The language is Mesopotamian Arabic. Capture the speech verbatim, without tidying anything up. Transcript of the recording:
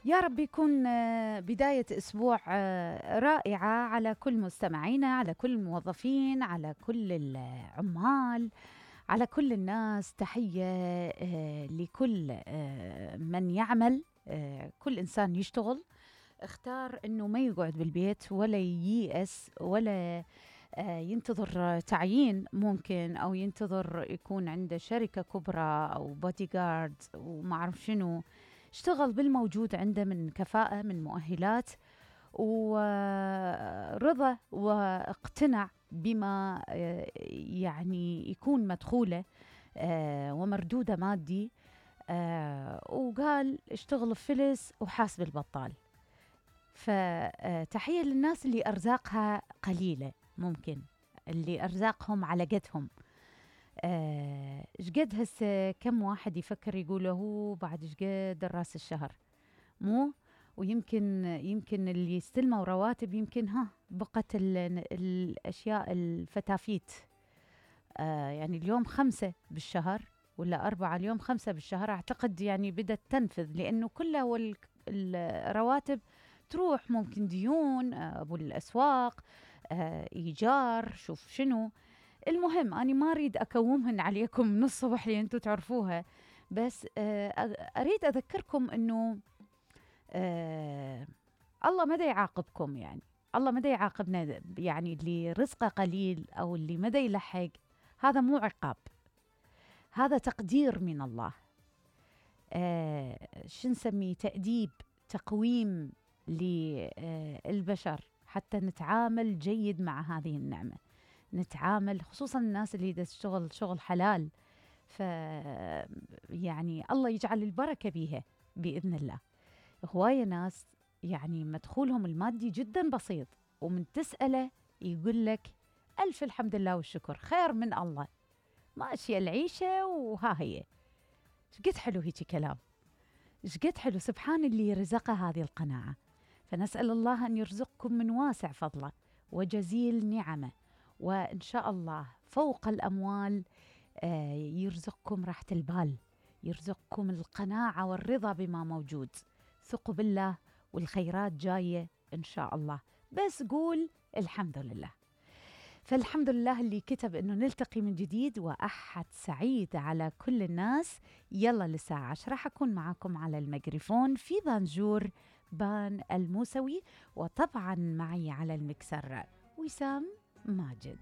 يا رب يكون آه، بداية أسبوع آه، رائعة على كل مستمعينا، على كل الموظفين، على كل العمال، على كل الناس. تحية آه، لكل آه، من يعمل، آه، كل إنسان يشتغل. اختار أنه ما يقعد بالبيت ولا ييأس ولا آه، ينتظر تعيين ممكن، أو ينتظر يكون عنده شركة كبرى أو بودي جارد وما أعرف شنو. اشتغل بالموجود عنده من كفاءة، من مؤهلات ورضا، واقتنع بما آه، يعني يكون مدخوله آه، ومردوده مادي، آه، وقال اشتغل بفلس وحاسب البطال. فتحية للناس اللي أرزاقها قليلة، ممكن اللي أرزاقهم على قدهم. ايش قد هسه كم واحد يفكر يقول هو بعد ايش قد راس الشهر مو، ويمكن يمكن اللي يستلموا رواتب يمكن ها بقت الاشياء الفتافيت. آه يعني اليوم خمسة بالشهر ولا أربعة، اليوم خمسة بالشهر أعتقد يعني بدأت تنفذ، لأنه كلها الرواتب تروح، ممكن ديون، آه أبو الأسواق، آه إيجار، شوف شنو. المهم أنا ما أريد أكومهن عليكم من الصبح اللي أنتوا تعرفوها، بس آه أريد أذكركم أنه آه الله مدى يعاقبكم، يعني الله مدى يعاقبنا، يعني اللي رزقه قليل أو اللي مدى يلحق، هذا مو عقاب، هذا تقدير من الله. آه شو نسميه؟ تأديب، تقويم للبشر حتى نتعامل جيد مع هذه النعمة، نتعامل خصوصا الناس اللي تشتغل شغل حلال، ف يعني الله يجعل البركة بيها بإذن الله. هواية ناس يعني مدخولهم المادي جدا بسيط، ومن تسأله يقول لك ألف الحمد لله والشكر، خير من الله، ماشية العيشة وها هي. شقد حلو هيك كلام، شقد حلو، سبحان اللي رزقه هذه القناعة. فنسأل الله أن يرزقكم من واسع فضله وجزيل نعمه، وإن شاء الله فوق الأموال آه يرزقكم راحة البال، يرزقكم القناعة والرضا بما موجود. ثقوا بالله والخيرات جاية إن شاء الله، بس قول الحمد لله. فالحمد لله اللي كتب إنه نلتقي من جديد، وأحد سعيد على كل الناس. يلا للساعة عشرة حكون معاكم على الميكروفون في بانجور بان الموسوي، وطبعا معي على المكسر وسام ماجد.